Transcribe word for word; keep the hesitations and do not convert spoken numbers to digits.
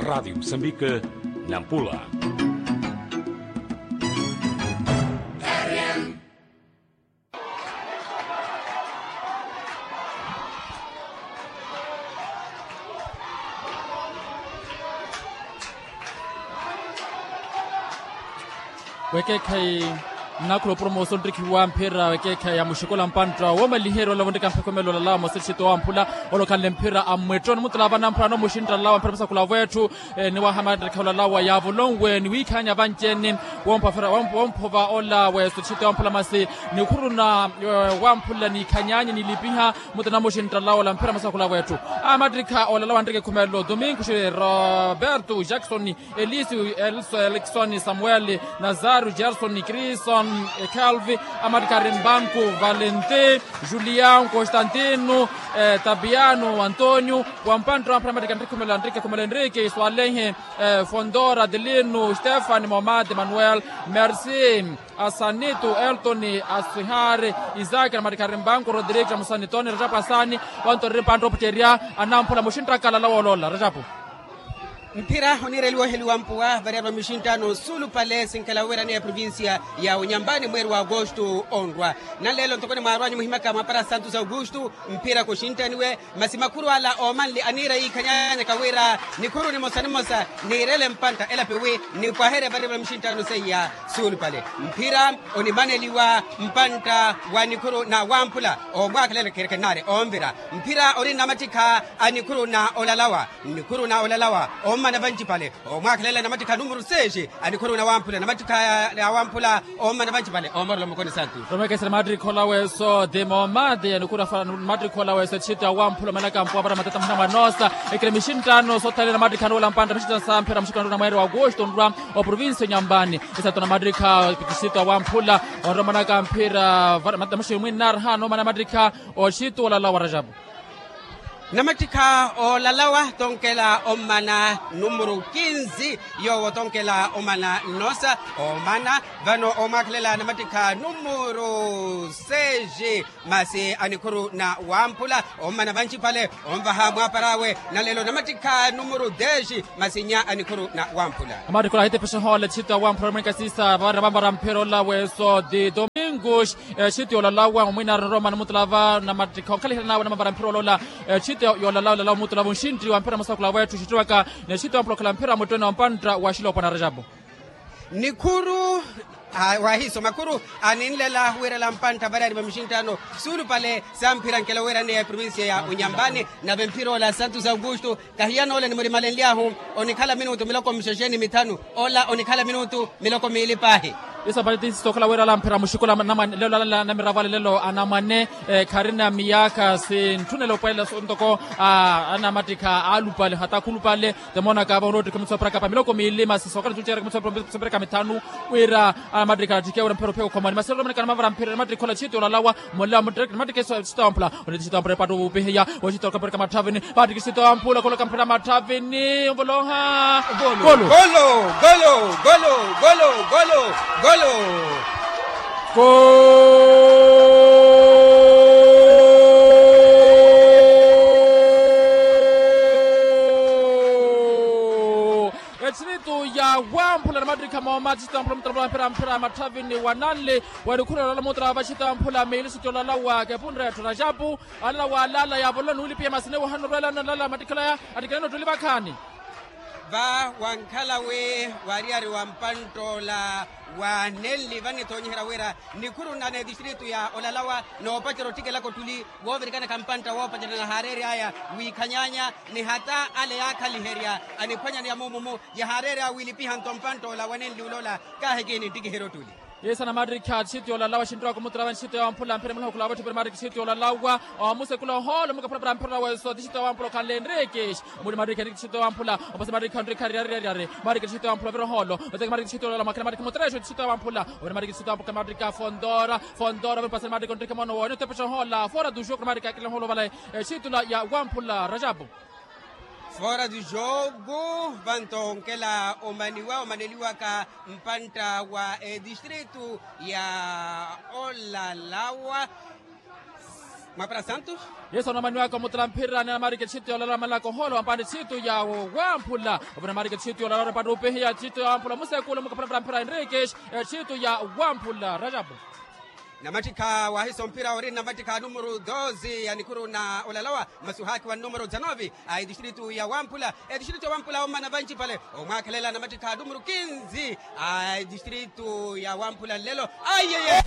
Rádio Moçambique, Nampula. Wekeekhayi, nnakhula opromoso nttikhiwa mphira wekeekhayi ya muxikola mpantta woomaliherya olavo nttikamphe khumela olalawa mosi txito wamphula, olokhanle mphira a mmwetto nimutula vana mphula no muxintta lalawa mphira musakula wetthu. Ni wahamattikha olalawa yaavolonwe ni wiikhaanya vanci-ene, womphova ola weso txito wamphula masi nikhuruna wamphula niikhanyaanyi nilipiha. Mutuna muxintta lalawa ola mphira musakula wetthu. Amattikha olalawa nttike khumelo domingo xi roberto jackson, elisi elso eliksoni samueli, nazario gerson krison, calvi, amattikha rimbanku, valenti, julian constantino, tabiano antonio, wampantta wamphira amattikha nttike khumelo anttike khumelo enrique swalehe, fondora adelino stefani momade manuel, merci, asanito elton, asihari, isaki na mattikha rimbanku rodrigo amusanitoni rajapu asani. Wanto ri mpantta oputterya anamphula muxinttaka lalawa oloola rajapu. Mphira oniireliwa oheliwa mpuwa variyari va mixinttano suulupale sinkela wira ni eprovincia ya unyambani mweeri wa agosto onrwa. Nanleelo ntoko ni mwaarwanyu muhimaka mwaapara santos augusto, mphira kuxinttaniwe. Masi makhuru ala oomanle aniira yiikhanyanyaka wira nikhuru nimosa nimosa niirele mpantta elapi wi nipwaherye variyari va mixinttano seiya suulupale. Mphira onimaneliwa mpantta wa nikhuru na wamphula omwaakhelela kherekhennaari omvira. Mphira ori nnamattikha a nikhuru na olalawa, nikhuru na olalawa ommana vancipale, omwaakhelela nnamattikha numuru seexi a nikhuru na wamphula nnamattikha ya wamphula ommana vancipale omorela mukoni santu. Romekesera mattikha ola weso ti momade ya nikhuru afa mattikha ola weso etxitu ya wamphula omanaka mpuwa para matata muna mwanoosa. Ekele mixinttano soothanela mattikha nuula mpantta mixinttano samphera muxikano na mweeri wa agosto nrwa oprovincia onyambani. Isato na mattikha etxitu ya wamphula onromanaka mphira vara matata muxi mwinnaari haana omana mattikha otxitu olalawa rajapu. Namattikha olalawa tonkela omana numuru kinzi, yoowo tonkela omana nnosa omana vano omwaakhelela namattikha numuru seexi masi a nikhuru na wamphula ommana vancipale onvaha mwaapar'awe. Nanleelo namattikha numuru deexi masi nnya a nikhuru na wamphula. Amattikha ola ahitepexeha ola etxitu ya wamphula mwenkasisa vara vamvara mphira ola weso ti domingo. Exityo yolalawa mwamwinaari norooma nimutulava namattikha onkhalihana nawe namavara mphira olola. Exityo yolalawa olalawa mutulava onxintti wa mphira musakula wetthu xittiwaka. N'exityo wamphula okhala mphira muttooni wa mpantta wa xilopwana rajapu. Nikhuru wahiiso makhuru aninlela wiirela mpantta variyari va mixinttano suulupale samphirankela wiiraneya eprovincia ya unyambani. Nave mphira ola santos augusto kahiyan'ole nimurimalenly'ahu onikhala minutu miloko mixexe ni mithanu. Ola onikhala minutu miloko miili paahi. Isapatisi sookhala wira ala mphira muxikola lelo ala namiravo ale lelo anamwane kharina miyaakha sintthunela opwelela ntoko anamattikha aalupale hata khulupale. Temoonaka vano ottikha mitsoperaka pa miloko miili masi sookhala tucera mitsoperaka mithanu wira anamattikha attikhiya wira mphira ophiya okhomani masi olomaneka namavara mphira namattikha ola txitu yolalawa. Molla mutteke mattikisa sitampula oneti sitampula epattu wupihiya wexita okapereka matthavini. Pattikisa sitampula kholoka mphira matthavini onvoloha. Golo. Golo. Golo. Golo. Golo. Golo. Golo. Golo. Etxiritu ya wamphula namattikha mooma txitampula mutalampula mphira mphira matthavini wananli. Wanikhurela olala muutala va xitampula miili xitolalawa kepunre etthu rajapu. Alala waalala yaavolola nuulipiya masine wohana orwelana alala mattikhalaya. Attikhalana ottuli vakhaani. Va wankhala wi waariyari wa mpanttoola wanenli vanitoonyiherya wira nikhuru nna n'edistritu ya olalawa noopacerya ottikelaka ottuli woovirikanaka mpantta woopacerya nahaareery'aya wiikhanyaanya ni hata ale yaakhaliherya aniphwanyaneya muumu-mu. Yahaareerya wiilipiha nto mpanttoola wanenli uloola. Kaahi kihi ninttikiherya ottuli. Yesu anamattikha tixito yoolalawa xinttowaka omutula va nxito ya wamphula mphira muliha okhula wa vatthu pira mattikha tixito yoolalawa. Omusekula ohoolo mukaphula para mphira weso tixito ya wamphula okhanle enrique. Muli mattikha enrique tixito ya wamphula opasi mattikha enrique ariariyariyari. Mattikha tixito ya wamphula ovira ohoolo oteke mattikha tixito yoolalawa mwakhela mattikha mutreexo tixito ya wamphula ovira mattikha tixito ya wamphula mattikha fondora. Fondora ovira opasi mattikha onrique mono woone otepexa ohoola fora duxo kura mattikha akile ohoolo ovale. Exitula ya wamphula rajapu. Fora du jogo vanto onkela omaniwa omaneliwaka mpantta wa edistritu ya olalawa. Mapara santos. Yesu anamaniwaka omutala mphira ni anamarika etthito ya olala malaka ohoolo wampani etthito ya wamphula. Ovona anamarika etthito ya olala orepata upihiya etthito ya wamphula musekulu mukapala mphira enriques. Etthito ya wamphula rajabu. Namattikha wahisa omphira ori namattikha numero doze ya nikhuru na olalawa masuhaki wa numero dezanove. A etistritu ya wamphula etistritu ya wamphula omana vanci pale. Omwakhelela namattikha numero kinzi a etistritu ya wamphula nlelo. Ayeye.